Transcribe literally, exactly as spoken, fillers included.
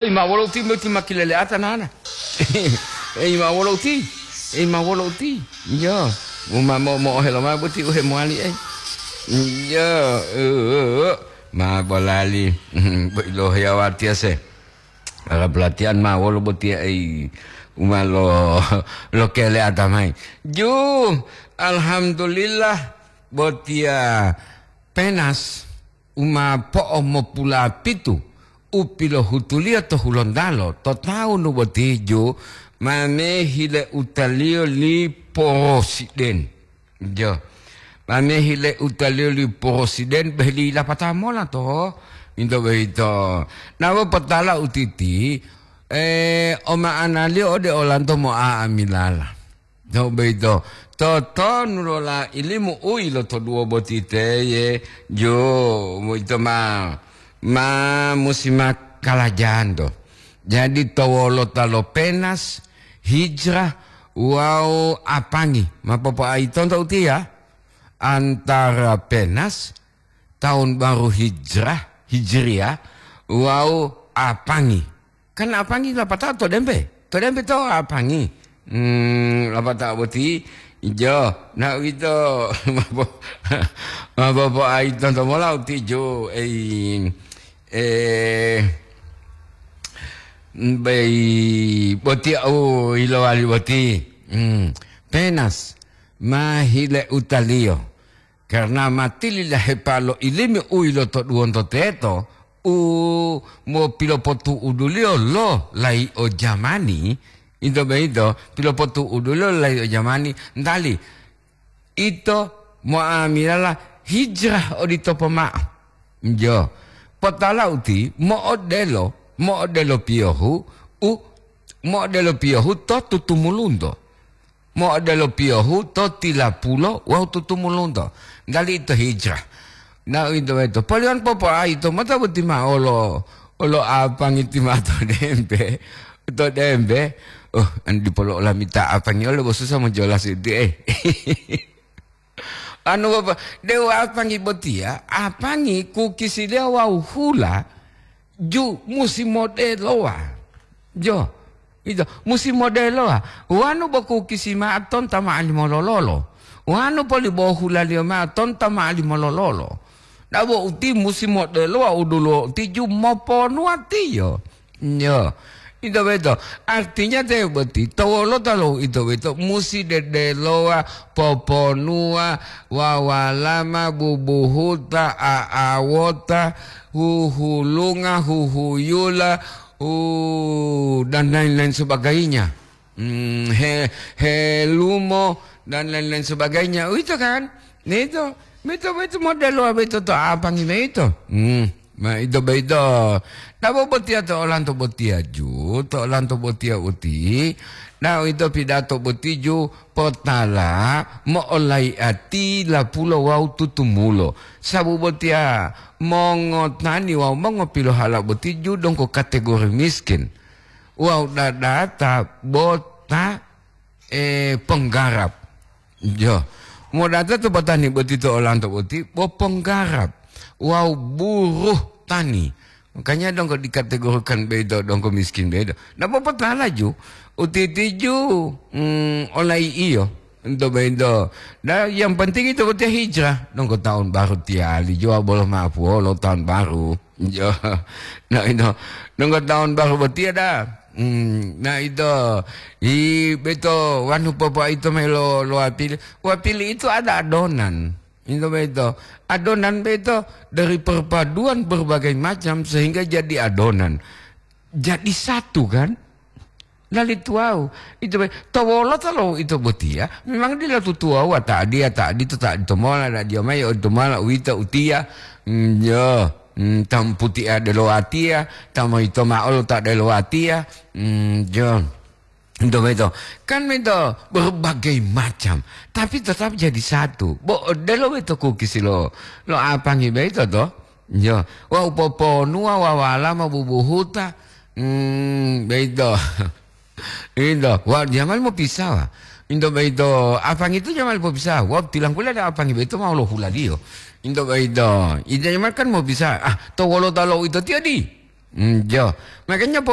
Ei, ma wolo uti, boti ma kilele'ata nana. Ei, ma wolo uti. Ei, ma wolo uti. Iyo. Uma mo-, mo'ohelo mao boti u hemowali, ei. Iyo. Uh, uh, uh. Ma bolali. Bo ilohiya watiya se. Ala pelatihan ma wolo botiya, ei. Uma lo, lo kele'ata mai. Ju, alhamdulillah, botiya penas. U ma po'omopulapitu u pilohutuliyo to Hulontalo to tawunu boti ju, ma mehile utaliyo li porosiden. Jo, ma mehile utaliyo li porosiden beh li lapata mola to, into boyito. Nawo potala utiti, eh, oma'analiyo ode olanto mo'a'amilala. To boyito, totonu lo la ilimu u yilotoduwo boti teye, jo, boyito ma, ma musi ma kalajanto. Jadi to wolota lo penas, hijrah, wawu apangi. Ma popoayitonto utiya? Antara penas, tahun baru hijrah, hijriah, wawu apangi. Kan apangi lapatao to dembe. To dembe to apangi. Hmm, lapatao boti ijo. Na uwito, mapo-, mapopoayitonto mola uti jo, ei, eh, bei boti au ilowali boti. Hmm, penas ma hile utaliyo. Karna ma tilidahepa lo ilimi u yilotoduwonto teto, u mopilopotu'uduliyo lo layi'o jamani, ito boyito pilopotu'uduliyo lo layi'o jamani, ntali ito mo'amilala hijrah odito pomao. Jo, potala uti mo'odelo, mo'odelo piyohu, u mo'odelo piyohu to tutumulunto. Mo'odelo piyohu to tilapulo wawu tutumulunto, ntali ito hijrah. Na uwito boyito, poliyan popoayi to mota boti mao olo, olo apangi ti mao to dembe, to dembe. Oh, an dipolo olamita apangi olo bo susa mojolas iti, eh. Anu, Bapak, de'u apangi botiya, apangi kukisiliyo wawu hula ju musi modelowa. Jo, ito, musi modelowa. Wanu bo kukisi ma'o tonta ma'alimo lololo. Wanu poli bo hulaliyo ma'o tonta ma'alimo lololo. Dabo uti musi modelowa u duluwo uti ju moponuwatiyo. Yo, ito boyito. Artinya te boti, to wolota lo ito boyito musi dedelowa, poponuwa, wawalama, bubuhuta, a'awota, huhulunga, huhuyula, u-, dan lain-lain sebagainya. Hmm, he-, helumo, dan lain-lain sebagainya. Uwito kan? Nah, ito, ito, ito modelo boyito to apangi boyito. Hmm, ma ito boyito. Dabo botiya to olanto botiya ju, to olanto botiya uti. Na uwito pidato boti ju potala mo'olayi'ati lapulo wawu tutumulo. Sabu botiya mongotani wawu mongopilohala boti ju donggo kategori miskin. Wawu dadata bota, eh, penggarap. Jo. Modata to batani boti to olanto boti, bo penggarap wawu buruh tani. Makanya donggo dikategorikan boyito donggo miskin boyito. Ndak popotalaju, utitiju, mm, olai iyo, ento boyito. Nah, yang penting ito botiya hijrah, donggo tahun baru tiyali, juwa bolo mapuwolo tahun baru. Jo. Nah, ito, donggo tahun baru botiya dah. Hmm, nah, ito, i, beto, wanu popo ito mayi lo, lo wapili. Wapili itu ada adonan. Ito boyito, adonan boyito dari perpaduan berbagai macam sehingga jadi adonan. Jadi satu, kan? Lali tuwawu. Ito boy-, to wolota lo ito botiya, memang dila tutuwawu, ta adiya, ta adito, ta adito mola, ta adiya mayi, odito mola, uwito, utiya. Mm, yo. Mm, ta moputia delo watiya, ta moyito ma'o lo ta delo watiya. Mm, jo. Ento boyito, kan boyito berbagai macam, tapi tetap jadi satu. Bo odelo boyito kukisi lo, lo apangi boyito to? Yo, wawu poponuwa wawala ma bubuhuta, mm, boyito. Ito, wa jamal mopisawa. Ito boyito, apangi itu jamal popisawa. Wawu tilangkula da apangi boyito ma lo hulaliyo. Ito boyito, ito jamal kan mopisawa. Ah, to wolota lo ito tiyo di? Mm, jo. Makanya po